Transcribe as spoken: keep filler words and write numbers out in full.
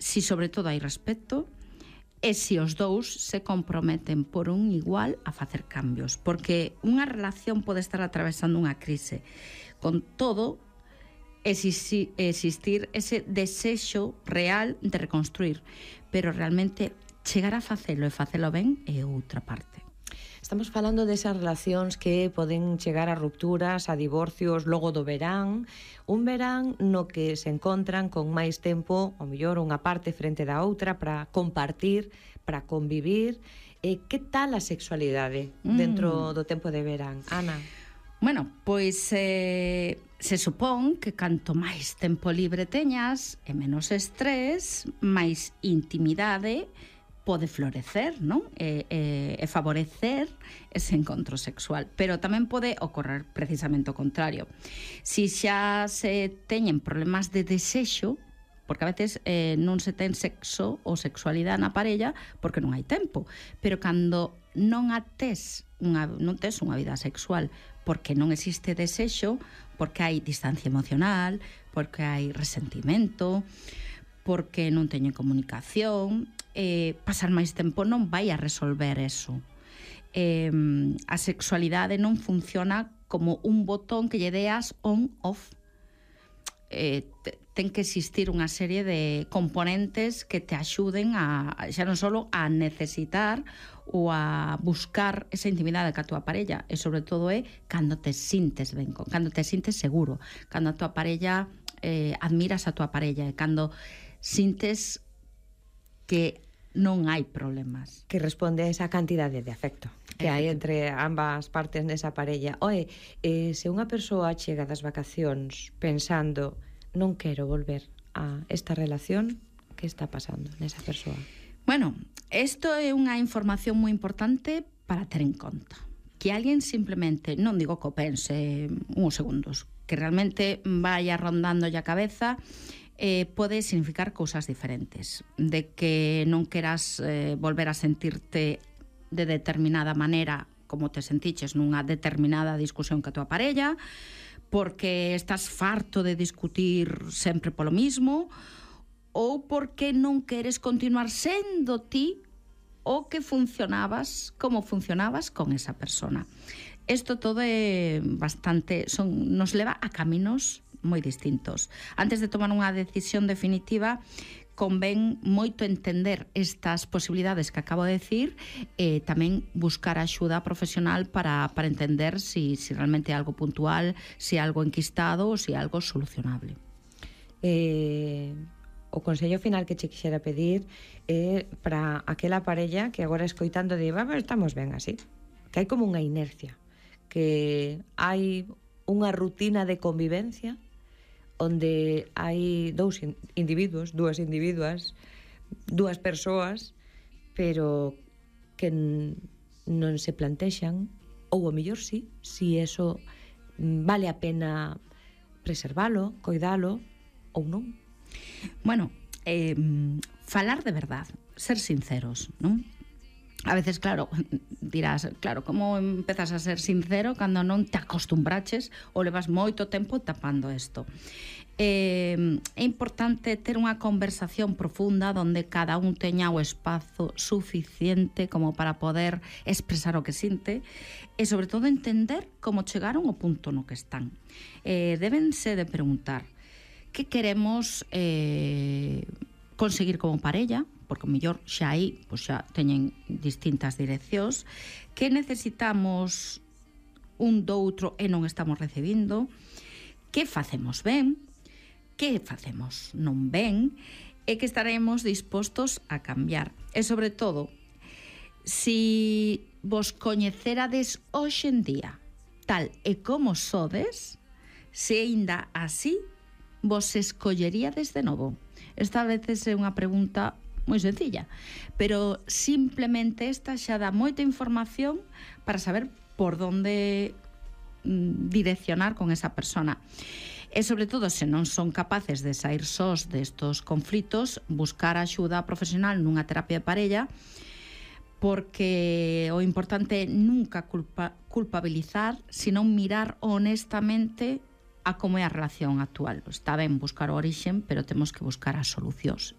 si sobre todo hai respeto, e se os dous se comprometen por un igual a facer cambios, porque unha relación pode estar atravesando unha crise, con todo existir ese desexo real de reconstruir, pero realmente chegar a facelo e facelo ben é outra parte. Estamos falando desas relacións que poden chegar a rupturas, a divorcios logo do verán, un verán no que se encontran con máis tempo, ao mellor unha parte frente da outra, para compartir, para convivir. E que tal a sexualidade dentro mm. do tempo de verán, Ana? Bueno, pois eh, se supón que canto máis tempo libre teñas e menos estrés, máis intimidade pode florecer, non? E, e, e favorecer ese encontro sexual. Pero tamén pode ocorrer precisamente o contrario. Si xa se teñen problemas de desexo, porque a veces eh, non se ten sexo ou sexualidade na parella porque non hai tempo, pero cando non a tes unha, non tes unha vida sexual porque non existe desexo, porque hai distancia emocional, porque hai resentimento, porque non teñen comunicación, eh, pasar máis tempo non vai a resolver eso. Eh, a sexualidade non funciona como un botón que lle deas on-off. Eh, ten que existir unha serie de componentes que te axuden a, xa non só a necesitar ou a buscar esa intimidade ca túa parella, e sobre todo é cando te sintes ben, cando te sintes seguro, cando a túa parella eh, admiras a túa parella, e cando sintes que non hai problemas. Que responde a esa cantidade de afecto que hai entre ambas partes nesa parella. Oe, eh, se unha persoa chega das vacacións pensando non quero volver a esta relación, que está pasando nesa persoa? Bueno, isto é unha información moi importante para ter en conta. Que alguén simplemente, non digo que o pense uns segundos, que realmente vaya rondando a cabeza, eh, pode significar cousas diferentes. De que non queras eh, volver a sentirte de determinada maneira como te sentiches nunha determinada discusión ca tua parella, porque estás farto de discutir sempre polo mismo, ou porque non queres continuar sendo ti o que funcionabas, como funcionabas con esa persona. Isto todo é bastante, son, nos leva a caminos moi distintos. Antes de tomar unha decisión definitiva, convén moito entender estas posibilidades que acabo de decir, e tamén buscar axuda profesional para, para entender si, si realmente é algo puntual, si é algo enquistado ou si é algo solucionable. Eh, o consello final que che quixera pedir é para aquela parella que agora escoitando di, vamos, estamos ben así, que hai como unha inercia, que hai unha rutina de convivencia onde hai dous individuos, dúas individuas, dúas persoas, pero que non se plantexan, ou ao mellor sí, si eso vale a pena preservalo, coidalo, ou non. Bueno, eh, falar de verdad, ser sinceros, non? A veces, claro, dirás, claro, como empezas a ser sincero cando non te acostumbraches ou levas moito tempo tapando isto? Eh, é importante ter unha conversación profunda onde cada un teña o espazo suficiente como para poder expresar o que sinte e, sobre todo, entender como chegaron ao punto no que están. Eh, débense de preguntar que queremos eh, conseguir como parella, porque o mellor xa aí pois xa teñen distintas direccións, que necesitamos un do outro e non estamos recibindo, que facemos ben, que facemos non ben, e que estaremos dispostos a cambiar. E, sobre todo, si vos coñecerades hoxe en día tal e como sodes, se aínda así vos escolleríades de novo. Esta a veces é unha pregunta moi sencilla, pero simplemente esta xa dá moita información para saber por onde direccionar con esa persona. E, sobre todo, se non son capaces de sair sós destos conflitos, buscar axuda profesional nunha terapia de parella, porque o importante é nunca culpa, culpabilizar, sino mirar honestamente a como é a relación actual. Está ben buscar o orixen, pero temos que buscar as solucións.